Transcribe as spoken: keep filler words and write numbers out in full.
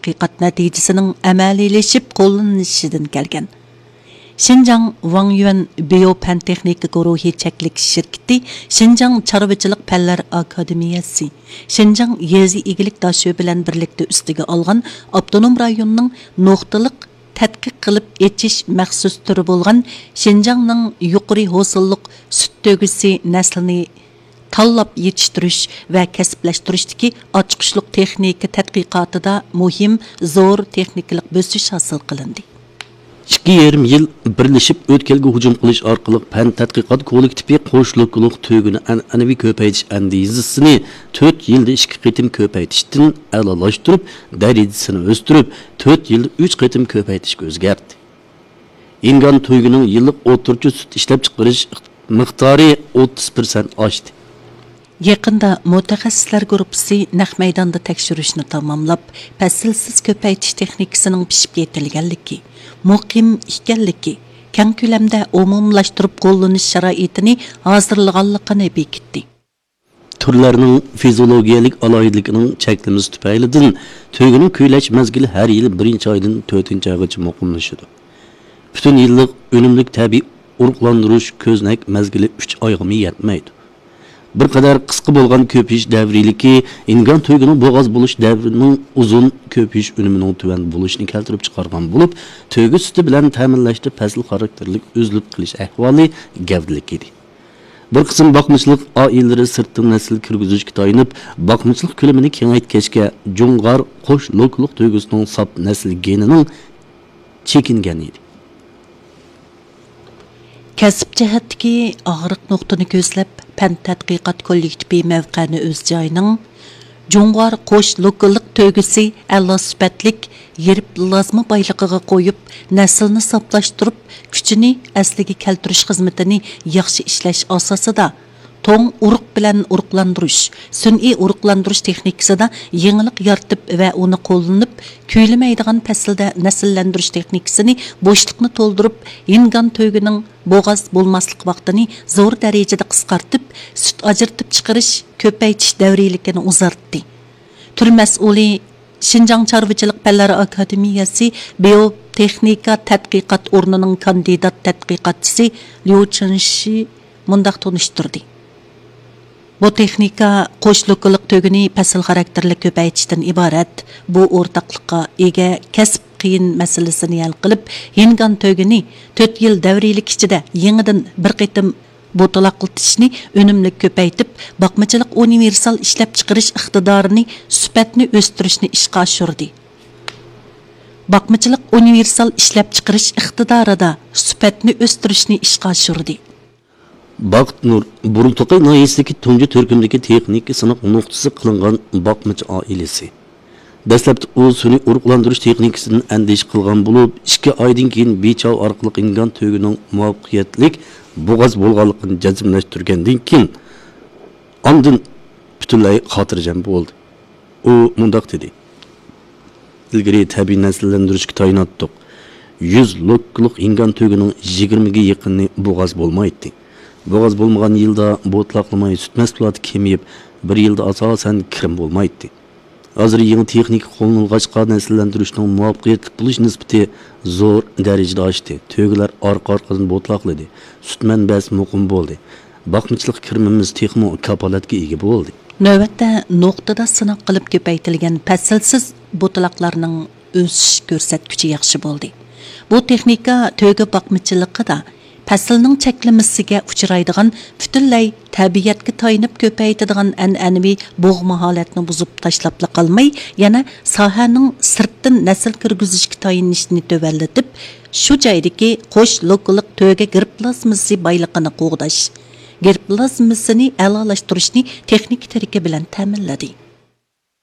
تەتقىقات نەتىجىسىنىڭ ئەمەلىيلىشىپ قوللىنىلىشىدىن كەلگەن. شىنجاڭ ۋاڭيۈەن بىيو پەن تېخنىكا گۇرۇھى چەكلىك شىركىتى شىنجاڭ چارۋىچىلىق پەنلەر ئاكادېمىيەسى، شىنجاڭ يېزا ئىگىلىك داشۆ بىلەن بىرلىكتە ئۈستىگە ئالغان ئاپتونوم رايوننىڭ نۇقتىلىق تەتقىق قىلىپ ئېچىش مەخسۇس تۈرى بولغان شىنجاڭنىڭ يۇقىرى ھوسۇللۇق سۈت تۆگىسى نەسلىنى تاللاپ يېتىشتۈرۈش ۋە كەسىپلەشتۈرۈشتىكى ئاچقۇچلۇق تېخنىكا تەتقىقاتىدا مۇھىم، زور تېخنىكىلىق بۆسۈش ھاسىل قىلىندى. ئىككى يېرىم يىل بىرلىشىپ ئۆتكەلگە ھۇجۇم قىلىش ئارقىلىق پەن تەتقىقات كوللېكتىپى قوش لوكىلىق تۆگىنى ئەنئەنىۋى كۆپەيتىش ئەندىزىسىنى تۆت يىلدا ئىككى قېتىم كۆپەيتىشتىن ئەلالاشتۇرۇپ، دەرىجىسىنى ئۆستۈرۈپ، تۆت يىلدا ئۈچ قېتىم كۆپەيتىشكە ئۆزگەرتتى. ئىنگان تۆگىنىڭ يىللىق ئوتتۇرىچە سۈت ئىشلەپچىقىرىش مىقدارى ئوتتۇز پىرسەنت ئاشتى. يېقىندا مۇتەخەسسىسلەر گۇرۇپپىسى نەق مەيداندا تەكشۈرۈشنى تاماملاپ، پەسىلسىز كۆپەيتىش تېخنىكىسىنىڭ پىشىپ يېتىلگەنلىكى، مۇقىم ئىكەنلىكى، كەڭ كۆلەمدە ئومۇملاشتۇرۇپ قوللىنىش شارائىتىنى ھازىرلىغانلىقىنى بېكىتتى. تۈرلەرنىڭ فىزىئولوگىيەلىك ئالاھىدىلىكىنىڭ چەكلىمىسى تۈپەيلىدىن، تۆگىنىڭ كۈيلەش مەزگىلى ھەر يىلى بىرىنچى ئايدىن تۆتىنچى ئايغىچە مۇقىملىشىدۇ. پۈتۈن يىللىق ئۈنۈملۈك تەبىئىي ئۇرۇقلاندۇرۇش كۆزنەك مەزگىلى ئۈچ ئايغىمۇ يەتمەيدۇ. بىر قەدەر قىسقا بولغان كۆپىيىش دەۋرىيلىكى ئىنگان تۆگىنىڭ بوغاز بولۇش دەۋرىنىڭ ئۇزۇن، كۆپىيىش ئۈنۈمىنىڭ تۆۋەن بولۇشىنى كەلتۈرۈپ چىقارغان بولۇپ، تۆگە سۈتى بىلەن تەمىنلەشتە پەسىل خاراكتېرلىك ئۈزۈلۈپ قېلىش ئەھۋالى گەۋدىلىك ئىدى. بىر قىسىم باقمىچىلىق ئائىلىلىرى سىرتتىن نەسىل كىرگۈزۈشكە تايىنىپ، باقمىچىلىق كۆلىمىنى كېڭەيتكەچكە، جۇڭغار قوش لوكىلىق تۆگىسىنىڭ ساپ نەسىل گېنىنىڭ چېكىنگەن ئىدى. كەسىپ جەھەتتىكى ئاغرىق نۇقتىنى كۆزلەپ، پەن تەتقىقات كوللېكتىپى مەۋقەنى ئۆز جايىنىڭ جۇڭغار قوش لوكاللىق تۆگىسى ئەلا سۈپەتلىك يېرىم پلازما بايلىقىغا قويۇپ، نەسىلنى ساپلاشتۇرۇپ، كۈچىنى ئەسلىگە كەلتۈرۈش خىزمىتىنى ياخشى ئىشلەش ئاساسىدا، توڭ ئۇرۇق بىلەن ئۇرۇقلاندۇرۇش، سۈنئىي ئۇرۇقلاندۇرۇش تېخنىكىسىدا يېڭىلىق يارىتىپ ۋە ئۇنى قوللىنىپ، كۈيلىمەيدىغان پەسىلدە نەسىللەندۈرۈش تېخنىكىسىنى بوشلۇقنى تولدۇرۇپ، ئىنگان تۆگىنىڭ بوغاز بولماسلىق ۋاقتىنى زور دەرىجىدە قىسقارتىپ، سۈت ئاجرىتىپ چىقىرىش، كۆپەيتىش دەۋرىيلىكىنى ئۇزارتتى. تۈر مەسئۇلى، شىنجاڭ چارۋىچىلىق پەنلەر ئاكادېمىيەسى بىيوتېخنىكا تەتقىقات ئورنىنىڭ كاندىدات تەتقىقاتچىسى ليۇ چېنشى مۇنداق تونۇشتۇردى. بۇ تېخنىكا قوش لوكاللىق تۆگىنى پەسىل خاراكتېرلىك كۆپەيتىشتىن ئىبارەت. بۇ ئورتاقلىققا ئىگە كەسىپ قىيىن مەسىلىسىنى ھەل قىلىپ، ھىنگان تۆگىنى تۆت يىل دەۋرىيلىك ئىچىدە يېڭىدىن بىر قېتىم بوتىلاقلىتىشنى ئۈنۈملۈك كۆپەيتىپ، باقمىچىلىق ئۇنىۋېرسال ئىشلەپچىقىرىش ئىقتىدارىنى، سۈپەتنى ئۆستۈرۈشنى ئىشقا ئاشۇردى. باقمىچىلىق ئۇنىۋېرسال ئىشلەپچىقىرىش ئىقتىدارىدا سۈپەتنى ئۆستۈرۈشنى ئىشقا ئاشۇردى. بەخت نۇر، بۇرۇنتۇقاي ناھىيەسىدىكى تۇنجى تۈركۈمدىكى تېخنىكا سىناق نۇقتىسى قىلىنغان باقمىچى ئائىلىسى. دەسلەپتە ئۇ سۈنئىي ئۇرۇقلاندۇرۇش تېخنىكىسىدىن ئەندىشە قىلغان بولۇپ، ئىككى ئايدىن كېيىن بىچاۋ ئارقىلىق ئىنگان تۆگىنىڭ مۇۋەپپەقىيەتلىك بوغاز بولغانلىقىنى جەزملەشتۈرگەندىن كېيىن، ئاندىن پۈتۈنلەي خاتىرجەم بولدى. ئۇ مۇنداق دېدى: ئىلگىرى تەبىئىي نەسىللەندۈرۈشكە تايىناتتۇق. يۈز لوككىلىق ئىنگان تۆگىنىڭ يىگىرمىگە يېقىنى بوغاز بولمايتتى. بوغاز بولمىغان يىلدا بوتىلاقلىماي سۈت مەھسۇلاتى كېمىيىپ، بىر يىلدا ئاساسەن كىرىم بولمايتتى. ھازىر يېڭى تېخنىكا قوللىنىلغاچقا، نەسىللەندۈرۈشنىڭ مۇۋەپپەقىيەتلىك بولۇش نىسبىتى زور دەرىجىدە ئاشتى. تۆگىلەر ئارقا-ئارقىدىن بوتىلاقلىدى. سۈت مەنبەسى مۇقىم بولدى. باقمىچىلىق كىرىمىمىز تېخىمۇ كاپالەتكە ئىگە بولدى. نۆۋەتتە نۇقتىدا سىناق قىلىپ كۆپەيتىلگەن پەسىلسىز بوتىلاقلارنىڭ ئۆسۈش كۆرسەتكۈچى ياخشى بولدى. بۇ تېخنىكا تۆگە باقمىچىلىقىدا پەسىلنىڭ چەكلىمىسىگە ئۇچرايدىغان، پۈتۈنلەي تەبىئەتكە تايىنىپ كۆپەيتىدىغان ئەنئەنىۋى بوغما ھالەتنى بۇزۇپ تاشلاپلا قالماي، يەنە ساھەنىڭ سىرتتىن نەسىل كىرگۈزۈشكە تايىنىشنى تۆۋەنلىتىپ، شۇ جايدىكى قوش لوكىلىق تۆگە گېرپلازمىسى بايلىقىنى قوغداش، گېرپلازمىسىنى ئەلالاشتۇرۇشنى تېخنىكا تىرىكى بىلەن تەمىنلىدى.